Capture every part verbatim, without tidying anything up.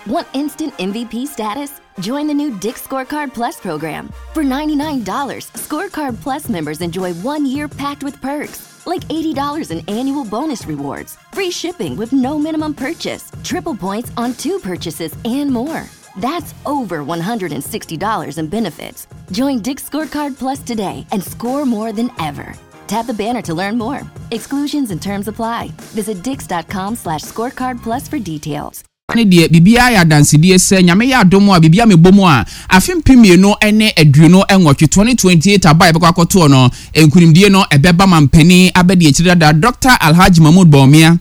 Want instant M V P status? Join the new Dick's Scorecard Plus program. For ninety-nine dollars, Scorecard Plus members enjoy one year packed with perks, like eighty dollars in annual bonus rewards, free shipping with no minimum purchase, triple points on two purchases, and more. That's over one hundred sixty dollars in benefits. Join Dick's Scorecard Plus today and score more than ever. Tap the banner to learn more. Exclusions and terms apply. Visit dicks dot com slash scorecard plus for details. Ne deɛ, biribiara yɛ adansedie sɛ Nyame yɛ adom a, biribiara mebɔ mu a, afe mpem mmienu ne aduonu nwɔtwe, twenty twenty-eight aba a yɛbɛkɔ akɔtoɔ no, nkunimdie no ɛbɛba ma mpanin abɛdi akyire dada, Doctor Alhaji Mahmood Bawumia,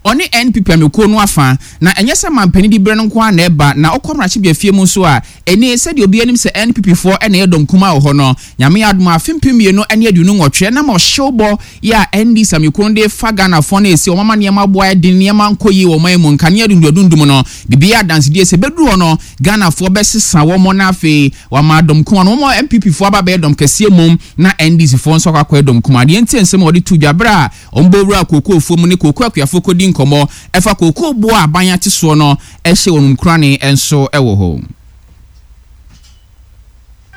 ɔne N P P amekuo no afa. Na ɛnyɛ sɛ mampanin di berɛ no nko ara na ɛba na ɔkɔ mmarahyɛbea fie mu nso a, ɛne sɛdeɛ obi anim sɛ N P P foɔ ɛna ɛyɛ dɔm kuma wɔ hɔ no. Nyame yɛ adom a, afe mpem mmienu ne aduonu nwɔtwe ɛnam ɔhyew bɔ yɛ a N D C amekuo no de fa Ghanafoɔ no esi ɔmama nneɛma aboa ɛden, nneɛma nkɔ yie wɔ ɔman mu, nkanea dundundundum no, biribi adansedie sɛ bɛduru hɔ no, Ghanafoɔ bɛsesa wɔn na afei wama dɔm kuma no, wɔn N P P foɔ aba bɛyɛ dɔm kɛseɛ mom na N D C foɔ nso akɔ akɔyɛ dɔm kuma. Deɛ nti nsɛm a wɔde to dwa berɛ a wɔn bɔ wura kookoofoɔ mu ne kookoo akuafoɔ kɔdi nkɔmmɔ ɛfa kookoo boɔ a aban ate soɔ no ɛhyɛ wɔn nkurane nso ɛwɔ hɔ.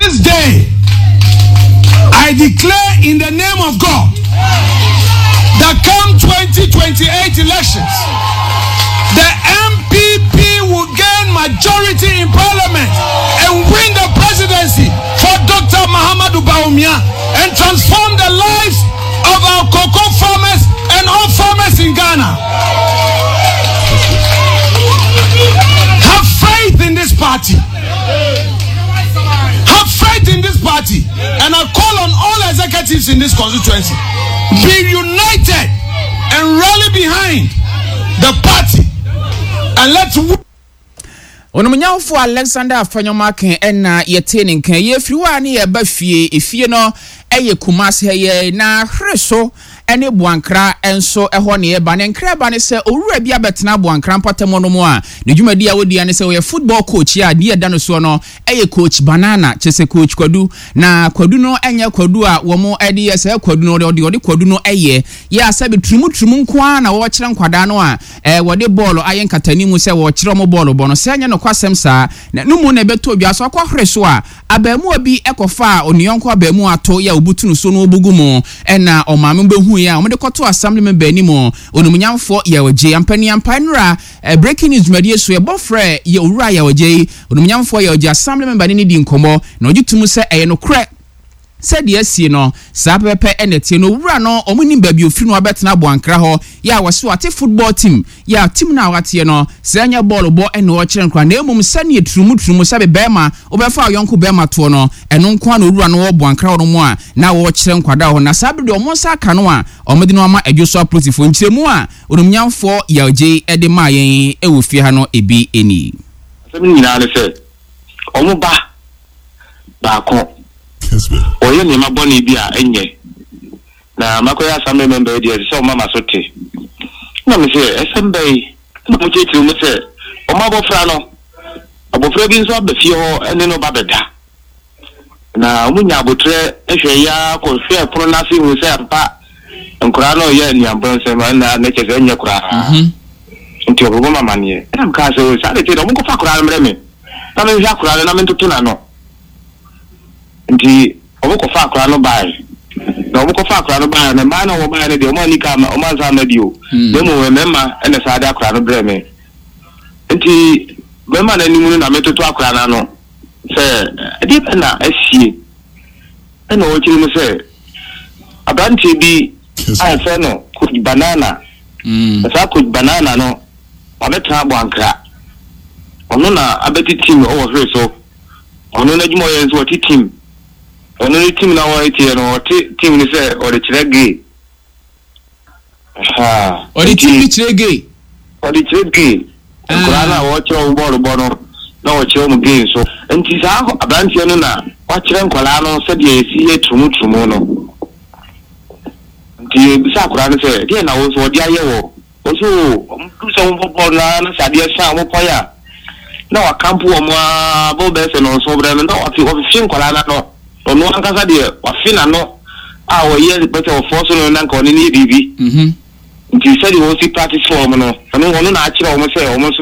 This day, I declare in the name of God that come twenty twenty-eight elections, the N P P will gain majority in parliament and win the presidency for Doctor Mahamudu Bawumia and transform the lives of our cocoa farmers and all farmers in Ghana. Have faith in this party. Have faith in this party. And I call on all executives in this constituency. Be united and rally behind the party. And let's Onumnyamfo Alexander Afenyo-Markin ɛna yɛte ne nka. Yɛfiri hɔ a ne yɛba fie. Efie no ɛyɛ Kumase ha yɛ na hwere so ɛne Boankra nso ɛhɔ ne yɛba ne nkra ba ne sɛ owura bi abɛtena Boankra mpɔtam no mu a ne dwumadi a wɔdi ne sɛ ɔyɛ football coach a deɛ ɛda no soɔ no ɛyɛ Coach Banana, kyerɛ sɛ Coach Kwadu. Na Kwadu no ɛnyɛ kwadu a wɔn ɛde yɛ sɛ kwadu no, ɔde ɔde kwadu no ɛyɛ yɛ asɛbi turumuturumu nko ara na wɔrekyerɛ nkwadaa no a ɛɛ wɔde bɔɔlo ayɛ nkatani mu sɛ wɔrekyerɛ wɔn bɔɔlo bɔ no sɛ ɛnyɛ nokwasɛm saa. Na no mu na ɛbɛtɔ dwa so akɔhwere so a, abaamuwa bi ɛkɔfa a oniyɔnko abaamuwa ato yɛ a obutu no so no obugu mu, ɛna ɔmaame bɛhu yɛ a wɔde kɔto assembly member anim, Onumnyamfoɔ Yɛwɔgye ampaniampa. Nnura Breaking News dwumadie so, yɛbɔ frɛ yɛ owura Yɛwɔgye yi, Onumnyamfoɔ Yɛwɔgye, assembly member ne ne di nkɔmmɔ na ɔgye tum sɛ ɛyɛ nokorɛ sɛdeɛ asie no saa pɛpɛpɛ. Ɛna tie no, owura no, ɔmo nim baabi ofiri no abɛtena Aboankra hɔ yɛ a wɔso ate football team yɛ a team no a wateɛ no sɛ ɛnyɛ bɔɔlo bɔ ɛna ɔkyerɛ nkora, na emom sɛneɛ turumu turumu sɛbe bɛrima wobɛfa ɔyɔnko bɛrima toɔ no, ɛno nko ara na owura no wɔ Boankra hɔ no mu a na wɔrekyerɛ nkwadaa hɔ. Na saa bere deɛ ɔmo nsa aka no a ɔmo de no ama Adwo so apolisifoɔ. Nkyerɛmu a Onumnyamfoɔ Yɛgye ɛde maa yɛn ɛwɔ fie ha no ebi nie. Asɛm no nyinaa ne sɛ ɔmo ba baako ɔyɛ nneɛma bɔne bi a ɛnyɛ na makɔyɛ assembly member yi deɛ, ɛsɛ sɛ ɔma ma so te na me sɛ ɛsɛm bɛyi na mo kyerɛkyerɛ mu sɛ ɔmo abɔfra no, abɔfra bi nso aba fie hɔ ɛne no ba bɛda na ɔmo nya abotire hwɛ ya kɔhwɛ pono n'ase hu sɛ ampa nkwaraa no yɛ nnuabɔ nsɛm ɛna ne kyɛ sɛ ɛnyɛ koraa, nti ɔbɛbɔ ma amaneɛ. Ɛna mekaa sɛ saa de te dɛ ɔmo nkɔfa akwaraa no mmerɛ me na menhwɛ akwaraa no na mentoto n'ano. Nti ɔmo kɔfa akwaraa no bae, na ɔmo kɔfa akwaraa no bae na mmaa na ɔmo bae no deɛ, ɔmo ani ka ama ɔmo ansa ama bio, na mmom mmarima ɛna saa de akwaraa no brɛ me. Nti mmarima no anim no na metoto akwaraa no ano sɛ ɛdeɛ bɛ na asie, ɛna ɔkyerɛ mu sɛ aberanteɛ bi a yɛfrɛ no Coach Banana, na saa Coach Banana no wabɛtena Aboankra, ɔno na abɛte team ɔwɔ hwere so. Ɔno n'adwuma ɔyɛ nso ɔte team, ɔno ne team na wɔteɛ no, ɔte team no sɛ ɔde kyerɛ gay. Ɔde team bi kyerɛ gay? Ɔde kyerɛ gay. Nkwadaa no a wɔkyerɛ wɔn bɔɔlo bɔ no na wɔkyerɛ wɔn gay nso. Nti saa aberanteɛ no na wakyerɛ nkwadaa no sɛdeɛ yɛsi yɛ turumuturumu no. Nti ebisa akwadaa no sɛ deɛ na wɔn nso wɔde ayɛ wɔ wɔso wɔn duru sɛ wɔn bɔ bɔɔlo naa na sɛ adeɛ san wɔn pɔn a na wakampo wɔn aa bɔ bɛyɛ sɛ nɔnso brɛ no na wafe wɔfefe nkwadaa n'ano. Ɔno ankasa deɛ wafe n'ano a wɔyɛ bɛsɛ wɔfɔ so no na nka ɔne ne yɛ biribi. Nti sɛdeɛ wɔsi practice for wɔn no, ɔno ɔno na akyerɛ wɔn sɛ wɔn nso